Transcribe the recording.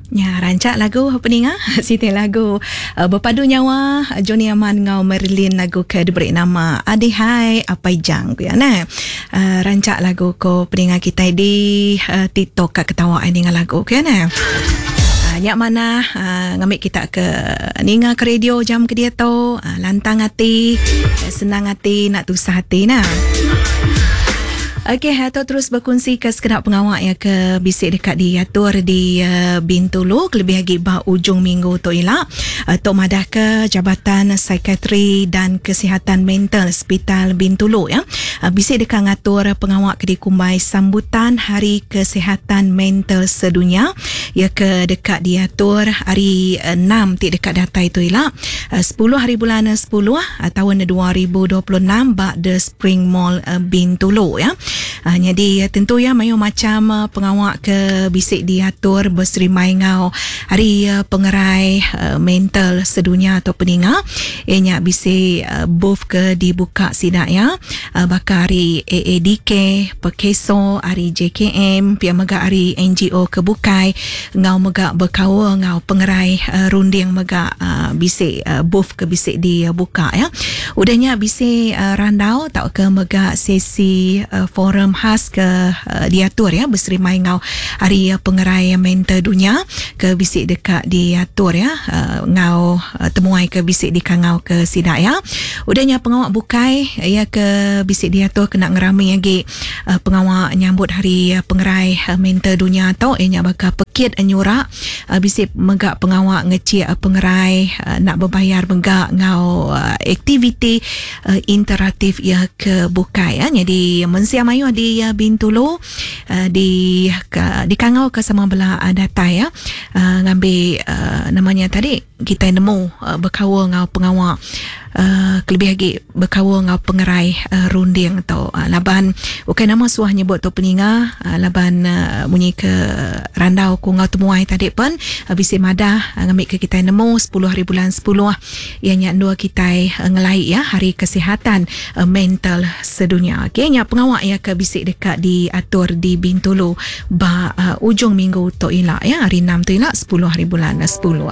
Nya rancak lagu peninga siti lagu bepadu nyawa Johnny Aman enggau Marilyn lagu ke diberi nama Adi Hai Apai Jang ku iya neh. Rancak lagu ko peninga kitai di TikTok ka ketawa ai ninga lagu ku iya neh. Nya manah ngambi kita ke ninga ke radio jam ke diatu lantang ati senang ati enda tusah ati nah. Okey, tu terus bekunsi ke sekeda pengawa iya ke bisi deka diatur di Bintulu kelebih agi ba ujung minggu tu ila. Tu madahka Jabatan Psikiatri dan Kesihatan Mental Sepital Bintulu ya bisi deka ngatur pengawa ke dikumbai Sambutan Hari Kesihatan Mental Sedunya iya ke deka diatur hari enam ti deka datai tu ila sepuluh hari bulan sepuluh taun 2026 ba The Spring Mall Bintulu ya. Nyadi tentu ya mayuh macham pengawa ke bisi diatur beserimbai enggau hari pengerai mental sedunya tu peninga iya nya bisi booth ke dibuka sida ya baka ari AADK, Perkeso, ari JKM pia mega ari NGO ke bukai enggau mega bekaul enggau pengerai runding mega bisi booth ke bisi dibuka ya. Udah nya bisi randau tauka mega sesi forum khas ke diatur ya beserimbai enggau Hari Pengerai Mental Dunya ke bisi deka diatur ya enggau temuai ke bisi dikangau ke sida ya. Udah nya pengawa bukai iya ke bisi diatur kena ngerami agi pengawa nyambut Hari Pengerai Mental Dunya tu iya nya baka pekit nyura Bisi mega pengawa ngechik pengerai enda bebayar mega enggau aktiviti interaktif iya ke bukai. Nyadi mensia mayuh di Bintulu di dikangau ka sama bela datai ngambi nama nya tadi kitai nemu bekaul enggau pengawa kelebih agi bekaul enggau pengerai runding tu laban ukai nama suah nyebut tu peninga laban munyi ke randau ku enggau temuai tadi pen bisi madah ngambika kitai nemu sepuluh hari bulan sepuluh iya nya endur kitai ngelai iya hari kesihatan mental sedunya. Okey nya pengawa iya ke bisi deka diatur di Bintulu ba ujung minggu tu ila ya hari enam tu ila sepuluh hari bulan sepuluh.